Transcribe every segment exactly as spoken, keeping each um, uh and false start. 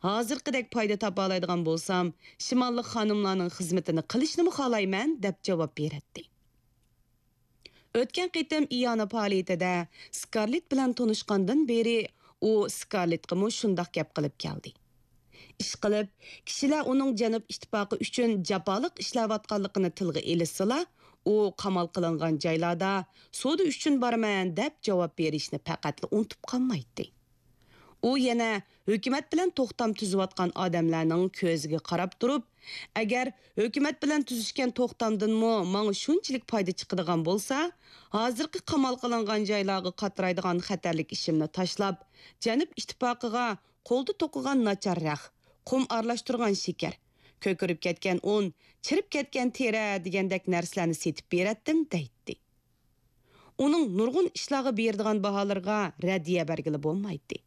ھازىرقىدەك پايدا تاپالايدىغان بولسام، شىماللىق خانىملارنىڭ خىزمىتىنى قىلىشنىمۇ خالايمەن، دەپ جاۋاب بېرەتتى. ئۆتكەن قېتىم ئىئانە پائالىيىتىدە سكارلېت بىلەن تونۇشقاندىن بېرى، ئۇ سكارلېتقىمۇ شۇنداق گەپ قىلىپ كەلدى. ئىشقىلىپ، كىشىلەر ئۇنىڭ جەنۇب ئىتتىپاقى ئۈچۈن جاپالىق ئىشلەۋاتقانلىقىنى تىلغا ئېلىشسىلا، ئۇ قامال قىلىنغان جايلاردا سودا ئۈچۈن بارىمەن دەپ جاۋاب بېرىشنى پەقەتلا ئۇنتۇپ قالمايتتى. ئۇ يەنە ھۆكۈمەت بىلەن توختام تۈزۈۋاتقان ئادەملەرنىڭ كۆزىگە قاراپ تۇرۇپ، ئەگەر ھۆكۈمەت بىلەن تۈزۈشكەن توختامدىنمۇ ماڭا شۇنچىلىك پايدا چىقىدىغان بولسا، ھازىرقى قامال قىلىنغان جايلارغا قاترايدىغان خەتەرلىك ئىشىمنى تاشلاپ، جەنۇب ئىتتىپاقىغا قولدا توقۇغان ناچار رەخ، قۇم ئارىلاشتۇرغان شېكەر، كۆكىرىپ كەتكەن ئۇن، چىرىپ كەتكەن تېرە دېگەندەك نەرسىلەرنى سېتىپ بېرەتتىم، دەيتتى. ئۇنىڭ نۇرغۇن ئىشلارغا بېرىدىغان باھالىرىغا رەددىيە بەرگىلى بولمايتتى.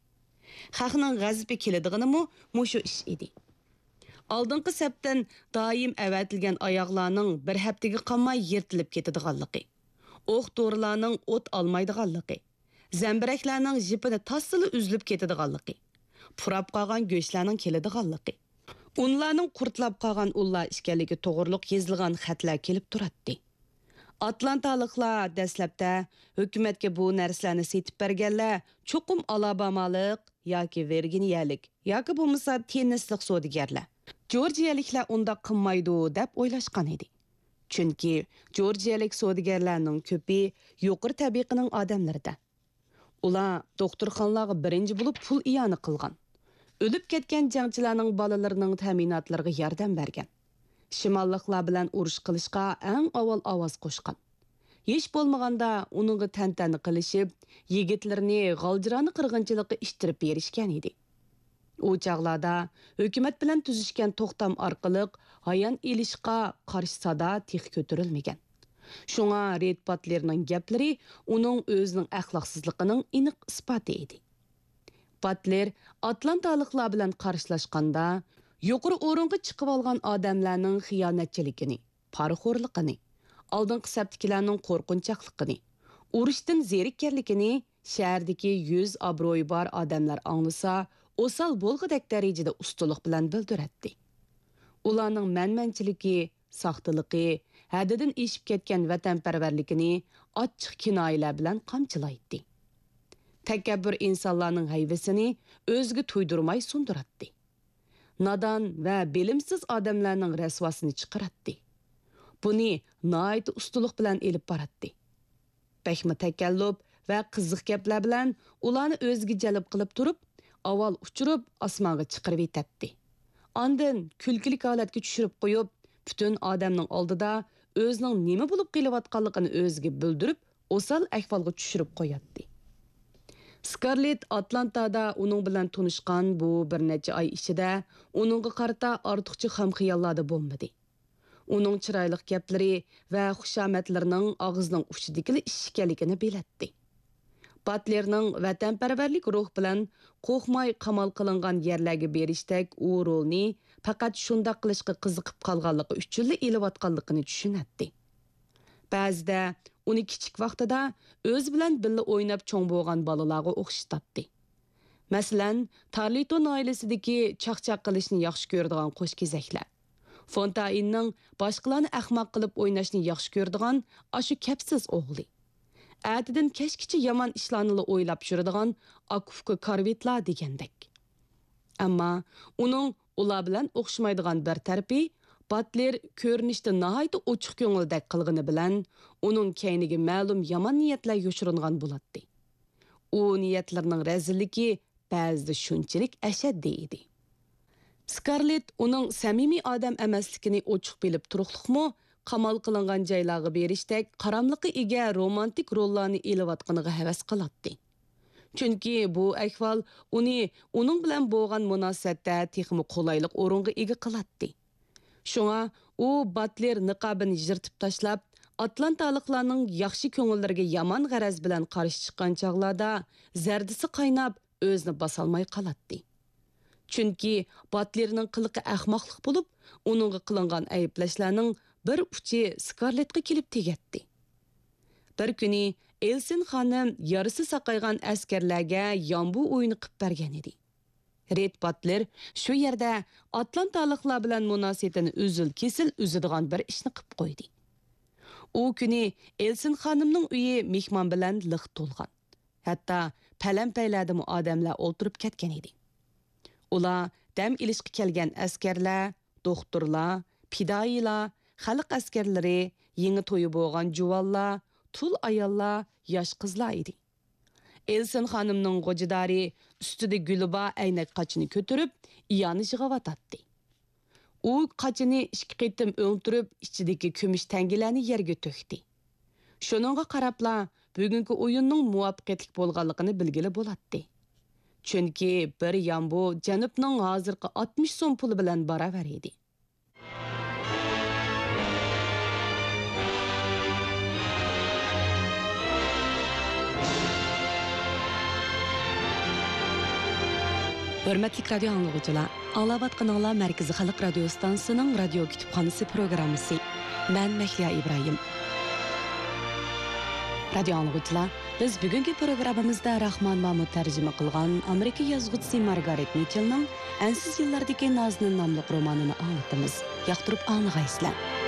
خەقنىڭ غەزىپى كېلىدىغىنىمۇ مۇشۇ ئىش ئىدى. ئالدىنقى سەپتىن دائىم ئەۋەتىلگەن ئاياغلارنىڭ بىر ھەپتىگە قالماي يىرتىلىپ كېتىدىغانلىقى، ئوق-دورىلارنىڭ ئوت ئالمايدىغانلىقى، زەمبىرەكلەرنىڭ ژىپىنى تاسسىلا ئۈزۈلۈپ كېتىدىغانلىقى، پۇراپ قالغان گۆشلەرنىڭ كېلىدىغانلىقى، ئۇنلارنىڭ قۇرتلاپ قالغان ئۇنلار ئىكەنلىكى توغرۇلۇق يېزىلغان خەتلەر كېلىپ تۇراتتى. ئاتلانتالىقلار دەسلەپتە ھۆكۈمەتكە بۇ نەرسىلەرنى سېتىپ بەرگەنلەر چوقۇم ئالابامالىق ياكى ۋىرگىنىيەلىك ياكى بولمىسا تېننېسلىق سودىگەرلەر، جورجىيەلىكلەر ئۇنداق قىلمايدۇ دەپ ئويلاشقان ئىدى. چۈنكى جورجىيەلىك سودىگەرلەرنىڭ كۆپى يۇقىرى تەبىقىنىڭ ئادەملىرىدە. ئۇلار دوختۇرخانىلارغا بىرىنچى بولۇپ پۇل ئىئانە قىلغان. ئۆلۈپ كەتكەن جەڭچىلەرنىڭ بالىلىرىنىڭ تەمىناتلىرىغا ياردەم بەرگەن. شىماللىقلار بىلەن ئۇرۇش قىلىشقا ئەڭ ئاۋۋال ئاۋاز قوشقان. ھېچ بولمىغاندا ئۇنىڭغا تەنتەنە قىلىشىپ، يىگىتلىرىنى غالجىرانا قىرغىنچىلىققا ئىتتىرىپ بېرىشكەن ئىدى. ئۇ چاغلاردا ھۆكۈمەت بىلەن تۈزۈشكەن توختام ئارقىلىق ھايان ئېلىشقا قارشى سادا تېخى كۆتۈرۈلمىگەن. شۇڭا رېد باتلېرنىڭ گەپلىرى ئۇنىڭ ئۆزىنىڭ ئەخلاقسىزلىقىنىڭ ئېنىق ئىسپاتى ئىدى. باتلېر ئاتلانتالىقلار بىلەن قارشىلاشقاندا، يۇقىرى ئورۇنغا چىقىۋالغان ئادەملەرنىڭ خىيانەتچىلىكىنى، پارىخورلۇقىنى، ئالدىنقى سەپتىكىلەرنىڭ قورقۇنچاقلىقىنى، ئۇرۇشتىن زېرىككەنلىكىنى شەھەردىكى يۈز ئابرۇيى بار ئادەملەر ئاڭلىسا، ئوسال بولغۇدەك دەرىجىدە ئۇستىلىق بىلەن بىلدۈرەتتى. ئۇلارنىڭ مەنمەنچىلىكى، ساختىلىقى، ھەددىدىن ئېشىپ كەتكەن ۋەتەنپەرۋەرلىكىنى ئاچچىق كىنايىلەر بىلەن قامچىلايتتى. تەكەببۇر ئىنسانلارنىڭ ھەيۋىسىنى ئۆزىگە تۇيدۇرماي سۇندۇراتتى. نادان ۋە بىلىمسىز ئادەملەرنىڭ رەسۋاسىنى چىقىراتتى. بۇنى ناھايىتى ئۇستىلىق بىلەن ئېلىپ باراتتى. بەكمۇ تەكەللۇپ ۋە قىزىق گەپلەر بىلەن ئۇلارنى ئۆزىگە جەلپ قىلىپ تۇرۇپ، ئاۋۋال ئۇچۇرۇپ ئاسمانغا چىقىرىۋېتەتتى. ئاندىن كۈلكىلىك ھالەتكە چۈشۈرۈپ قويۇپ، پۈتۈن ئادەمنىڭ ئالدىدا ئۆزىنىڭ نېمە بولۇپ قېلىۋاتقانلىقىنى ئۆزىگە بىلدۈرۈپ، ئوسال ئەھۋالغا چۈشۈرۈپ قوياتتى. سكارلېت ئاتلانتادا ئۇنىڭ بىلەن تونۇشقان بۇ بىر نەچچە ئاي ئىچىدە ئۇنىڭغا قارىتا ئارتۇقچە خام خىياللاردا بولمىدى. ئۇنىڭ چىرايلىق گەپلىرى ۋە خۇشامەتلىرىنىڭ ئاغزىنىڭ ئۇچىدىكىلا ئىش ئىكەنلىكىنى بىلەتتى. باتلېرنىڭ ۋەتەنپەرۋەرلىك روھ بىلەن قورقماي قامال قىلىنغان يەرلەرگە بېرىشتەك ئۇ رولنى پەقەت شۇنداق قىلىشقا قىزىقىپ قالغانلىقى ئۈچۈنلا ئېلىۋاتقانلىقىنى چۈشىنەتتى. بەزىدە ئۇنى كىچىك ۋاقتىدا ئۆزى بىلەن بىللە ئويناپ چوڭ بولغان بالىلارغا ئوخشىتاتتى. مەسىلەن، تارلىتون ئائىلىسىدىكى چاقچاق قىلىشنى ياخشى كۆرىدىغان قوشكېزەكلەر، فونتائىننىڭ باشقىلارنى ئەخمەق قىلىپ ئويناشنى ياخشى كۆرىدىغان ئاشۇ كەپسىز ئوغلى، ئەتىدىن كەچكىچە يامان ئىشلارنىلا ئويلاپ يۈرىدىغان ئاكا-ئۇكا كارۋىتلار دېگەندەك. ئەمما ئۇنىڭ ئۇلار بىلەن ئوخشىمايدىغان بىر تەرىپى، باتلېر كۆرۈنۈشتە ناھايىتى ئوچۇق كۆڭۈلدەك قىلغىنى بىلەن، ئۇنىڭ كەينىگە مەلۇم يامان نىيەتلەر يوشۇرۇنغان بولاتتى. ئۇ نىيەتلىرىنىڭ رەزىللىكى بەزىدە شۇنچىلىك ئەشەددىي ئىدى. سكارلېت ئۇنىڭ سەمىمىي ئادەم ئەمەسلىكىنى ئوچۇق بىلىپ تۇرۇقلۇقمۇ، قامال قىلىنغان جايلارغا بېرىشتەك قاراملىققا ئىگە رومانتىك روللارنى ئېلىۋاتقىنىغا ھەۋەس قىلاتتى. چۈنكى بۇ ئەھۋال ئۇنى ئۇنىڭ بىلەن بولغان مۇناسىۋەتتە تېخىمۇ قولايلىق ئورۇنغا ئىگە قىلاتتى. شۇڭا ئۇ باتلېر نىقابىنى يىرتىپ تاشلاپ، ئاتلانتالىقلارنىڭ ياخشى كۆڭۈللىرىگە يامان غەرەز بىلەن قارشى چىققان چاغلاردا زەردىسى قايناپ، ئۆزىنى باسالماي قالاتتى. چۈنكى باتلېرنىڭ قىلىقى ئەخمەقلىق بولۇپ، ئۇنىڭغا قىلىنغان ئەيىبلەشلەرنىڭ بىر ئۇچى سكارلېتقا كېلىپ تېگەتتى. بىر كۈنى ئېلسىن خانىم يارىسى ساقايغان ئەسكەرلەرگە يامبۇ ئويۇنى قىپ بەرگەن ئىدى. رېد باتلېر شۇ يەردە ئاتلانتالىقلار بىلەن مۇناسىۋىتىنى ئۈزۈل-كېسىل ئۈزىدىغان بىر ئىشنى قىپ قويدى. ئۇ كۈنى ئېلسىن خانىمنىڭ ئۆيى مېھمان بىلەن لىق تولغان. ھەتتا پەلەمپەيلەردىمۇ ئادەملەر ئولتۇرۇپ كەتكەن ئىدى. ئۇلار دەم ئېلىشقا كەلگەن ئەسكەرلەر، دوختۇرلار، پىدائىيلار، خەلق ئەسكەرلىرى، يېڭى تويى بولغان جۇۋانلار، تۇل ئاياللار، ياش قىزلار ئىدى. ئېلسىن خانىمنىڭ غوجىدارى ئۈستىدە گۈلى بار ئەينەك قاچىنى كۆتۈرۈپ، ئىئانە يىغىۋاتاتتى. ئۇ قاچىنى ئىككى قېتىم ئۆڭتۈرۈپ، ئىچىدىكى كۈمۈش تەڭگىلەرنى يەرگە تۆكتى. شۇنىڭغا قاراپلا، بۈگۈنكى ئويۇننىڭ مۇۋەپپەقىيەتلىك بولغانلىقىنى بىلگىلى بولاتتى. چۈنكى بىر يامبۇ جەنۇبنىڭ ھازىرقى ئاتمىش سوم پۇلى بىلەن باراۋەر ئىدى. ھۆرمەتلىك رادىيو ئاڭلىغۇچىلار، ئاڭلاۋاتقىنىڭلار مەركىزىي خەلق رادىيو ئىستانسىسىنىڭ رادىيو كۇتۇپخانىسى پروگراممىسى. مەن مەھلىيا ئىبراھىم. رادىيو ئاڭلىغۇچىلار، بىز بۈگۈنكى پروگراممىمىزدا راخمان مامۇت تەرجىمە قىلغان ئامېرىكا يازغۇچىسى مارگارېت مىچېلنىڭ ئەنسىز يىللاردىكى نازنىن ناملىق رومانىنى ئاڭلىتىمىز. ياقتۇرۇپ ئاڭلىغايسىلەر.